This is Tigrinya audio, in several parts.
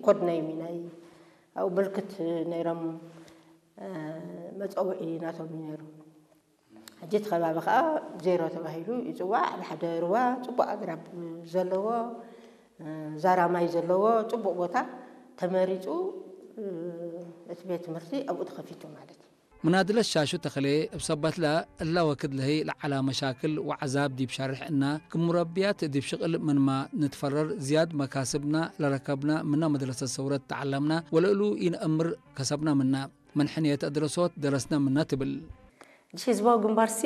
ኮድ ናይ ሚናይ ኣብኡ ምልክት ነይሮም መፀውዒ ናቶም እዩ ነይሩ። ሕጂ እቲ ከባቢ ከዓ ዜሮ ተባሂሉ ይፅዋዕ። ሓደ ሩባ ፅቡቅ ኣግራብ ዘለዎ ዛራ ማይ ዘለዎ ፅቡቅ ቦታ ተመሪፁ እቲ ቤት ትምህርቲ ኣብኡ ተኸፊቱ ማለት እዩ። ምናድለት ሻሹ ተኽሌ እብ ሰበትላ እላ ወክድ ለህይ ለዐላ መሻክል ወዐዛብ ዲብ ሸርሕ እና ክም ሙረብያት ዲብ ሽቅል ምንማ ንትፈረር ዝያድ መካስብና ለረከብና ምና መድረሰት ሰውረት ተዐለምና ወለእሉ ኢነአምር ከሰብና ምና። ምን ሕንየት አድረሶት ደረስና ምና ትብል። እሺ ህዝባዊ ግንባርሲ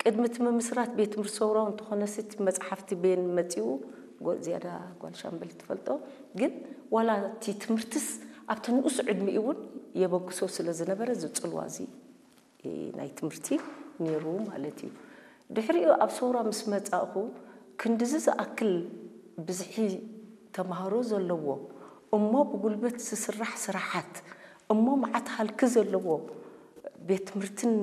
ቅድሚ እቲ ምምስራት ቤት ትምህርቲ ሰውራዊ እንተኾነሲ እቲ መፅሓፍቲ ቤን መፂኡ ጎ- ዝያዳ ጓል ሻምበል ትፈልጦ ግን ዋላ እቲ ትምህርትስ ኣብቲ ንኡስ ዕድሚኡ እውን የበግሶ ስለ ዝነበረ እዚ ፅልዋ እዚ ናይ ትምህርቲ ነይሩ ማለት እዩ። ድሕሪኡ ኣብ ሰውራ ምስ መፃእኹ ክንድዚ ዝኣክል ብዝሒ ተምሃሮ ዘለዎ እሞ ብጉልበት ዝስራሕ ስራሓት እሞ መዓት ሃልኪ ዘለዎ ቤት ትምህርትን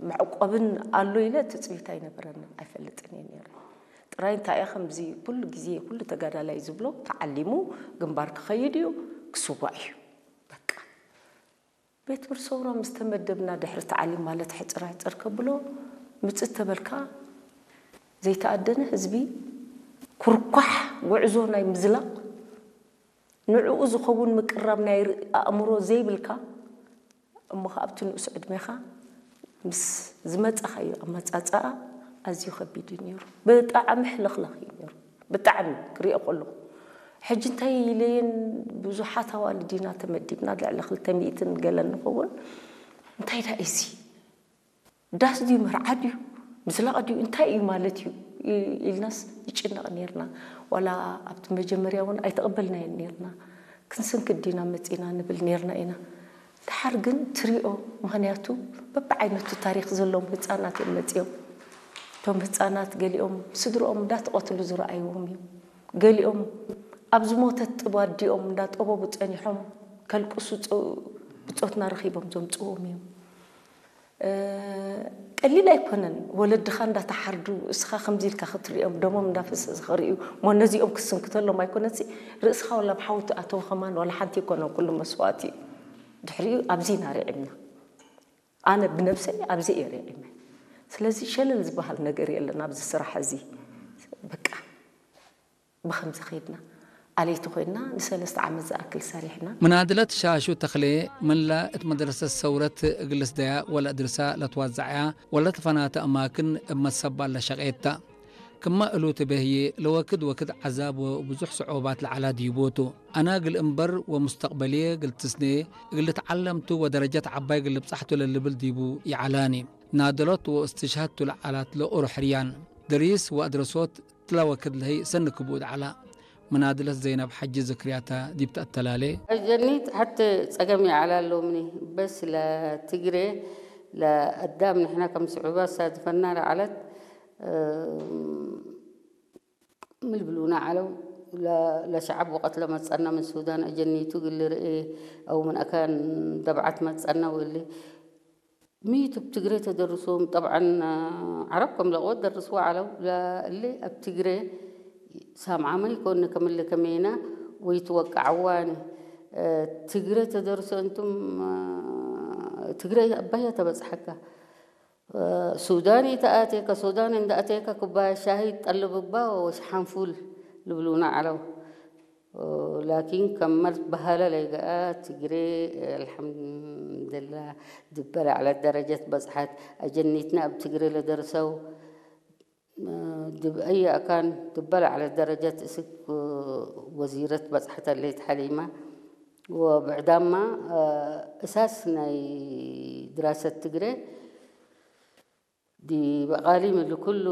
መዕቆብን ኣሎ ኢለ ትፅቢት ኣይነበረንን ኣይፈልጥን እየ ነይረ። ጥራይ እንታይ እየ ከምዚ ኩሉ ግዜ ኩሉ ተጋዳላይ ዝብሎ ተዓሊሙ ግንባር ክኸይድ እዩ ክስዋእ እዩ በቃ። ቤት ትምህርቲ ሰውራ ምስ ተመደብና ድሕሪ ተዓሊም ማለት ሕፅር ሕፅር ከብሎ ምፅእ ተበልካ ዘይተኣደነ ህዝቢ ኩርኳሕ ጉዕዞ ናይ ምዝላቕ ንዕኡ ዝኸውን ምቅራብ ናይ ር- ኣእምሮ ዘይብልካ እሞ ከ ኣብቲ ንኡስ ዕድሜኻ ምስ ዝመፃኻዮ ኣመፃፅኣ ኣዝዩ ከቢድ እዩ ነይሩ። ብጣዕሚ ሕልኽልኽ እዩ ነይሩ። ብጣዕሚ ክሪኦ ከለኹ ሕጂ እንታይ ኢለየን ብዙሓት ኣዋልድ ኢና ተመዲብና ልዕሊ ክልተ ሚእትን ገለን ንኸውን እንታይ ዳ እዚ ዳስ ድዩ መርዓ ድዩ ምዝላቕ ድዩ እንታይ እዩ ማለት እዩ ኢልናስ ይጭነቕ ነርና ዋላ ኣብቲ መጀመርያ እውን ኣይተቐበልናየን ነርና ክንስንክድ ዲና መፂና ንብል ነርና ኢና ድሓር ግን ትሪኦ ምኽንያቱ በብዓይነቱ ታሪክ ዘለዎም ህፃናት እዮም መፂኦም እቶም ህፃናት ገሊኦም ስድርኦም እንዳተቐትሉ ዝረኣይዎም እዮም ገሊኦም ኣብ ዝሞተት ጥብ ኣዲኦም እንዳጠበቡ ፀኒሖም ከልቅሱ ብፆትና ረኺቦም ዘምፅዎም እዮም ቀሊል ኣይኮነን ወለድኻ እንዳተሓርዱ እስኻ ከምዚ ኢልካ ክትሪኦም ደሞም እንዳፈሰሰ ክርእዩ እሞ ነዚኦም ክስንክተሎም ኣይኮነሲ ርእስኻ ወላ ብሓዊ ትኣተው ከማን ዋላ ሓንቲ ኣይኮነን ኩሉ መስዋእቲ እዩ ድሕሪኡ ኣብዚ ኢና ርዒምና ኣነ ብነብሰይ ኣብዚ እየ ርዒመ ስለዚ ሸለል ዝበሃል ነገር የለን ኣብዚ ስራሕ እዚ በቃ ብኸምዚ ኸይድና ኣለይቲ ኮይንና ንሰለስተ ዓመት ዝኣክል ሰሪሕና። ምናድለት ሻሹ ተኽሌ፣ መላእ እት መድረሰት ሰውረት እግል ልስደያ ወለእድርሳ ለትዋዘዐያ ወለትፈናተ አማክን እብ መትሰባል ለሸቄት ተ። ክመ እሉ ትቤህዬ፣ ለወክድ ወክድ ዐዛብ ወብዙሕ ሰዑባት ለዐላ ዲቡቱ። አና እግል እንበር ወሙስተቅበልዬ እግል ትስኔ፣ እግል ልትዓለም ቱ ወደረጀት ዐባይ እግል ልብጻሕ ቱ ለልብል ዲቡ ይዐላኒ። ናደሎት ወእስትሽሀድ ቱ ለዐላት ለኦሮ ሕርያን። ድሪስ ወአድረሶት ትላ ወክድ ለህይ ሰኒ ክቡድ ዐላ። ምናድለት ዘይነብ ሐጂ ዝክርያታ ዲብ ተአተላሌ። ጀኒት ሐቲ ጸገም ይዐላ ሎምኒ በስ ለትግሬ ለአዳም ንሕና ከም ስዑባት ሳድፈና ለዐለት ምልብሉና ዐለው ለሸዐብ ወቀት ለመጸና ምን ሱዳን አጀኒቱ ግል ርኤ አው ምን አካን ደብዓት መጸና ወሊ ሚት ብ ትግሬ ተደርሶም ጠብዓን ዓረብ ከም ለቅወት ደርስዎ ዓለው እሊ ኣብ ትግሬ ሳምዓመ ይኮን ከምለ ከሜና ወይ ትወቃዓዋኒ ትግሬ ተደርሶ እንቱም ትግሬ ኣባያ ተበጽሐካ ሱዳን ይተኣቴካ ሱዳን እንዳኣቴካ ኩባያ ሻሂ ጠልብባ ወሽሓንፉል ልብሉና ዓለው ላኪን ከመርት በሀለ ለይገአ ትግሬ አልሐምድላ ድበ ለዐለት ደረጀት በጽሐት። አጀኒትና እብ ትግሬ ለደርሰው ድብ አየ አካን ድበ ለዐለት ደረጀት እስክ ወዚረት በጽሐት አለይት ሐሊማ ወብዕዳማ እሳስ ናይ ድራሰት ትግሬ ዲብ አቃሊም እሊ ኩሉ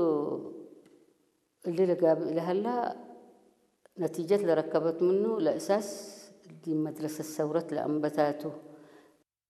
እሊ ለጋብእ ለሀላ ነቲጀት ለረከበት ምኑ ለእሳስ ዲብ መድረሰት ሰውረት ለአንበታቱ።